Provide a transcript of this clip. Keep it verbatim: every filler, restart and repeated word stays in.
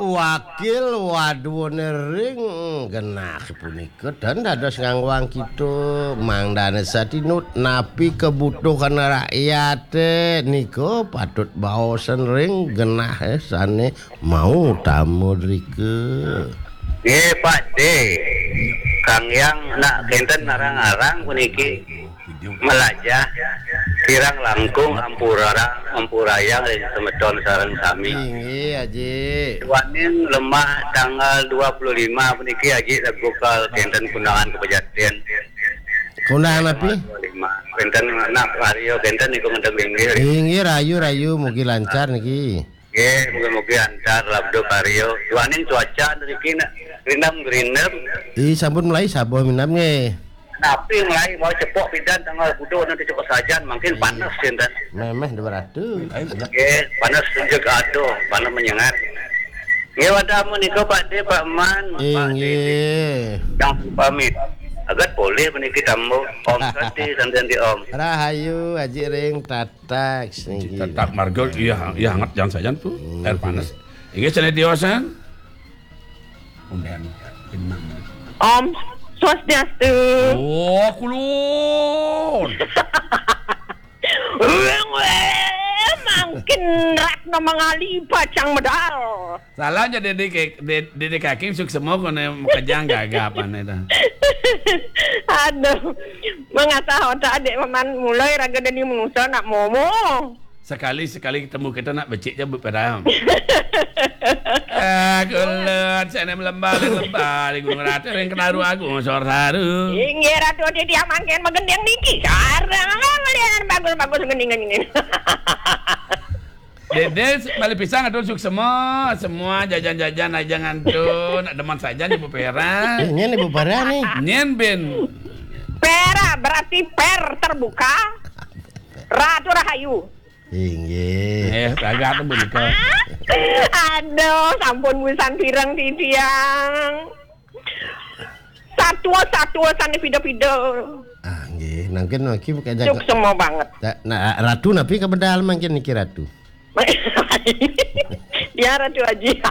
Wakil wadone ring genah punika ten dados ngangwang kita mangdane satinut napi kebutuhan rakyate nika patut baosen ring genah, eh, sane mau tamu drika. Nggih, Pak De. Kang Yang nak kenten narang-arang puniki melajah kirang langkung ampura, ampurayang ring semeton sareng sami. Inggih, Aji. Duaning lemah tanggal dua puluh lima puniki, Aji, lebukal kenten kundangan kepejaten. Kundangan api? Dua puluh lima. Kenten nak Mario kenten niku ngedeng inggih. Inggih, rayu-rayu, mugi lancar niki. Nggih, mugi-mugi antar labda karya. Duaning cuaca niki nak rindem-rindem. Ih, sampun mulai sabuh minam nggih. Napi mulai mau cepok pidan tanggal kudu nanti cepok sajan, mungkin panas sinten. Memeh dua ratus. Nggih, panas tunjuk aduh, panas menyengat. Nggih, wadah menika Pak De, Pak Man, Pak De. Inggih. Yang pamit. Agat boleh meniki tamu. Om Santi, Santi, Santi, Om. Rahayu, Aji Ring, Tatak, niki. Tatak marga, iya, iya, hangat jangan saja tuh. Hmm. Air panas. Inggih, sane tiosan. Om Swastiastu. Oh, kulun. Weng, weng, mangkin Ratna Mangali pacang medal. Salah aja Dede Ke-, De-, Dede Kaking suksema kone makejang gagapane ta. Aduh, mengasah otak adik paman mulai raga dadi manusa nak momo. Sekali-sekali ketemu kita nak becik je beperam. Eh, kulut, sene melembah, ling lembah, ling gunung rata, ling kenaru agung, sor saru. Inggih, Ratu Titi mangkin magending niki. Sareng melihat bagus-bagus gending-gending. Dede, balik pisang atur suksema, semua jajan-jajan aja ngantun, nak demen saja ibu Pera. Eh, nyen ibu Pera nih. Nyen bin. Pera berarti per terbuka. Ratu Rahayu. Inggih. Eh, raga tu punika. Aduh, sampun busan pireng titiang. Satua-satua sane pida-pida. Ah, nggih. Nangkin niki bukan jaga. Suksema banget. Nah, ratu napi kebedal mangkin niki ratu? Ya, Ratu Aji.